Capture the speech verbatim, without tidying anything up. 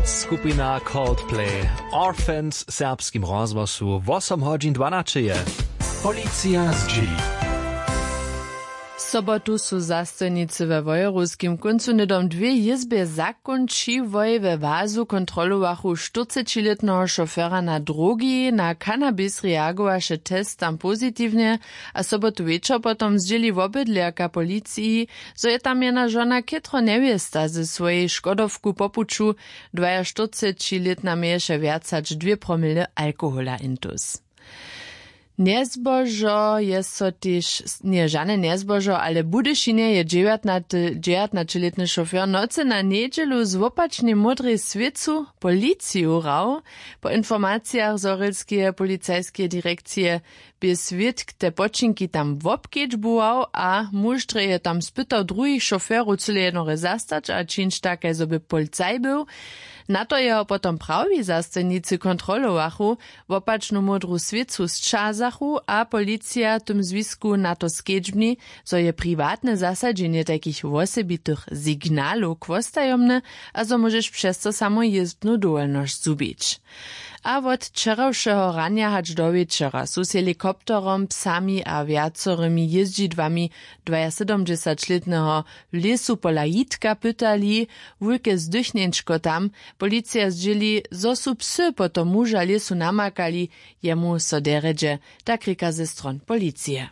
Skupina Coldplay, Orphans w serbskim rozhłosu, wosom hodźin dwanaće je. Policija zdźěli. Sobotu su zastojnicy we wojerowskim kóncu hnydom dwě jězbje zakónčiłoj we wazu kontrolowachu štyrcećilětneho šofera na drogi. Na kanabis reagowaše test tam pozitiwnje, a sobotu wječor potom zdźěli wobydlerka policiji, zo je tam jena žona chětro njewěsta ze swojej škodowku po puću dwajaštyrcećilětna měješe wjac hač dwě promile alkohola intus. Njezbožo je so tež njeje žane njezbožo, ale w budyšinje je dźewjatnaćelětny šofer nocy na njedźelu z wopačnej módrej swěcu policiju hrał. Po informacijach zhorjelskeje policajskeje direkcije bě swědk te poćinki tam wobkedźbował a muž drje je tam spytał druhich šoferow cyle jednore zastać a čińć tak kaž zo by policaj był. Na to jeho potom prawi zastojnicy kontrolowachu, wopačnu módru swěcu sćazachu a policija w tym zwisku na to skedźbni, zo je priwatne zasadźenje tajkich wosebitych signalow chłostajomne a zo móžeš přez to samo jězbnu dowolnosć zhubić. A wot wčerawšeho ranja hač do wječora su z helikopterom, psami a wjacorymi jězdźidłami dwajasydomdźesaćlětneho w lěsu pola jitka pytali. Wulke zdychněńčko tam. Policija zdźěli, zo su psy potom muža lěsu namakali, jemu so derjedźe, tak rěka ze stron policije.